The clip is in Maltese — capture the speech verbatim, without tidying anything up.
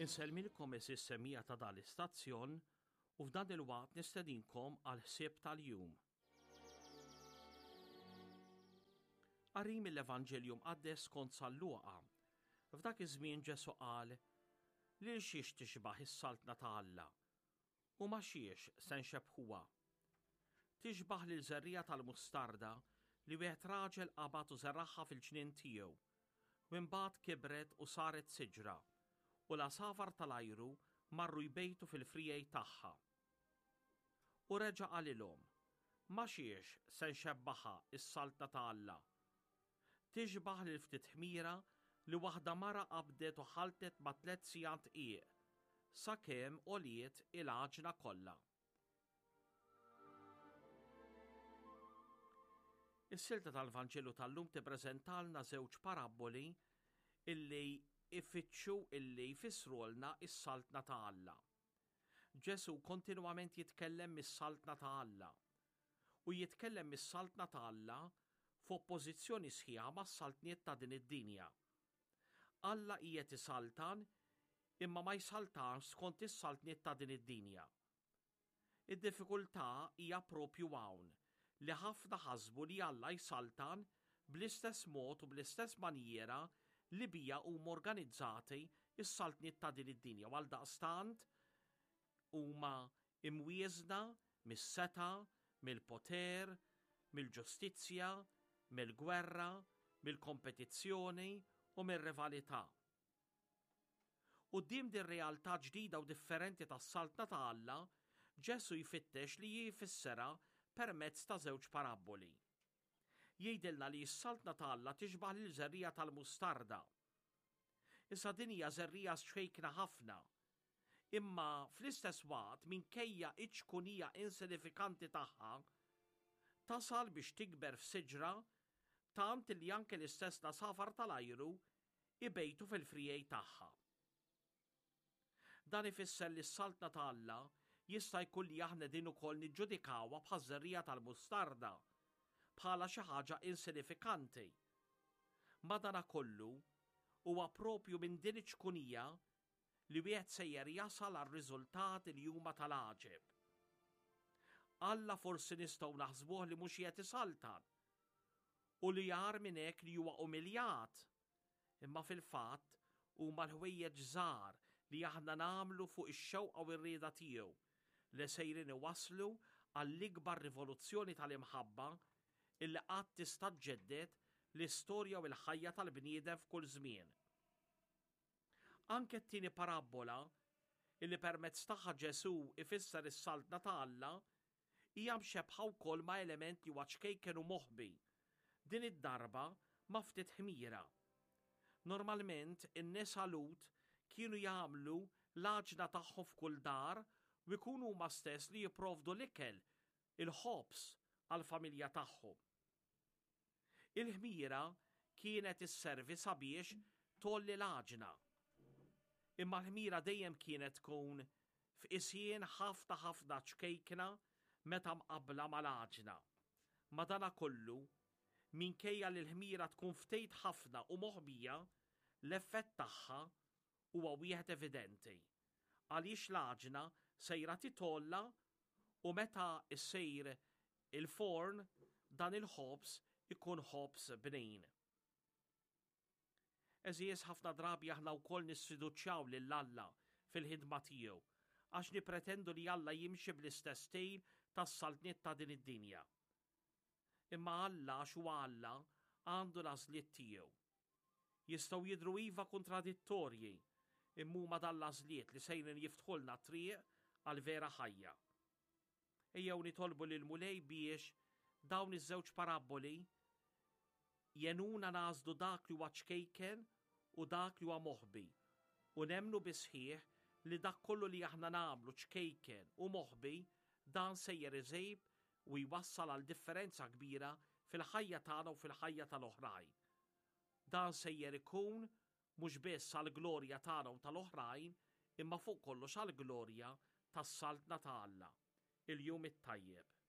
Insellmilkom għeżież semmiegħa ta' dan l-istazzjon u f'dan il-waqt nistedinkom għal ħsieb tal-jum. Qari mill-Evanġelju Mqaddes skont San Luqa. F'dak iż-żmien Ġesù qal, Lil xiex tixbah is-saltna ta' Alla? U ma' xiex se nxebbħuha? Tixbah lil żerriegħa tal-mustarda li wieħed raġel qabad u żeragħha fil-ġnien tiegħu, u imbagħad kibret u saret siġra, u l-għasafar tal-ajru marru jbejtu fil-friegħi tagħha. U reġa' qalilhom, Ma xiex se nxebbaħha s-saltna ta' Alla? Tixbah lil ftit ħmira li waħda mara qabdet u ħaltet ma' tliet sigħat dqiq, sakemm għoliet il-għaġna kollha. Is-silta tal-Vanġelu tal-lum tippreżentalna żewġ parabboli illi ifittxu illi jfissrulna s-saltna ta' Alla. Ġesù kontinwament jitkellem mis-saltna ta' Alla. U jitkellem mis-saltna ta' Alla f'oppożizzjoni sħiħa mas-saltniet ta' din id-dinja. Alla qiegħed isaltan imma ma jsaltanx skont is-saltniet ta' din id-dinja. Id-diffikultà hija propju hawn li ħafna ħasbu li Alla jsaltan bl-istess mod u bl-istess manjiera li bija huma organizzati s-saltniet ta' din id-dinja u għaldaqstant huma imwieżna mis-setgħa, mill-poter, mill-ġustizzja, mill-gwerra, mill-kompetizzjoni u mir-rivalità. Quddiem din realtà ġdida u differenti tas-Saltna ta' Alla, Ġesù jfittex li jfissirha permezz ta' żewġ parabboli. Jgħidilna li s-Saltna ta' Alla tixbah lil żerriegħa tal-mustarda. Issa din hija żerriegħa ċkejkna ħafna. Imma fl-istess waqt minkejja iċ-ċkunija insinifikanti tagħha, tasal biex tikber f'siġra tant li anke l-istess l-għasafar tal-ajru ibejtu fil-friegħi tagħha. Dan ifisser li s-Saltna ta' Alla jista' jkun li aħna din ukoll niġġudikawha bħaż-żerriegħa tal-mustarda, bħala xi ħaġa insinifikanti. Madanakollu, huwa propju minn din iċ-ċkunija li wieħed sejjer jasal għal riżultati li huma tal-għaġeb. Alla forsi nistgħu naħsbuh li mhux qiegħed isaltan u li agħar minn hekk li huwa umiljat. Imma fil-fatt huma l-ħwejjeġ żgħar li aħna nagħmlu fuq ix-xewqa u r-rieda tiegħu li sejrin iwasslu għall-ikbar rivoluzzjoni tal-imħabba illi qatt tista' ġġedded l-istorja u l-ħajja tal-bniedem f'kull żmien. Anke t-tieni parabbola illi permezz tagħha Ġesù ifisser is-saltna ta' Alla hija mxebbħa wkoll ma' element li huwa ċkejken u moħbi, din id-darba ma' ftit ħmira. Normalment in-nisa Lhud kienu jagħmlu l-għaġna tagħhom f'kull dar u jkunu huma stess li jipprovdu l-ikel, il-ħobż għall-familja tagħhom. Il-ħmira kienet isservi sabiex tgħolli l-għaġna. Imma l-ħmira dejjem kienet tkun f'qisien ħafna ħafna ċkejkna meta mqabbla mal-għaġna. Madanakollu, minkejja li l-ħmira tkun ftit ħafna u moħbija, l-effett tagħha huwa wieħed evidenti. Għaliex l-għaġna sejra titgħolla u meta ssir il-forn dan il-ħobż ikun ħobż bnin. Għeżież ħafna drabi aħna wkoll nisfiduċjaw lil Alla fil-ħidma tiegħu għax nipretendu li Alla jimxi bl-istess stil tas-saltniet ta' din id-dinja. Imma Alla għax huwa Alla għandu l-għażliet tiegħu. Jistgħu jidhru iva kontradittorji, imma huma dan l-għażliet li sejrin jiftħulna triq għal vera ħajja. Ejjew nitolbu lill-Mulej biex dawn iż-żewġ parabboli jgħinuna nagħżlu dak li huwa ċkejken u dak li huwa moħbi u nemmnu bis-sħiħ li dak kollu li aħna nagħmlu ċkejken u moħbi dan sejjer iżejb u jwassal għal differenza kbira fil-ħajja tagħna u fil-ħajja tal-oħrajn. Dan sejjer ikun mhux biss għall-glorja tagħna u tal-oħrajn, imma fuq kollox għall-glorja tas-Saltna ta' Alla. Il-jum it-tajjeb.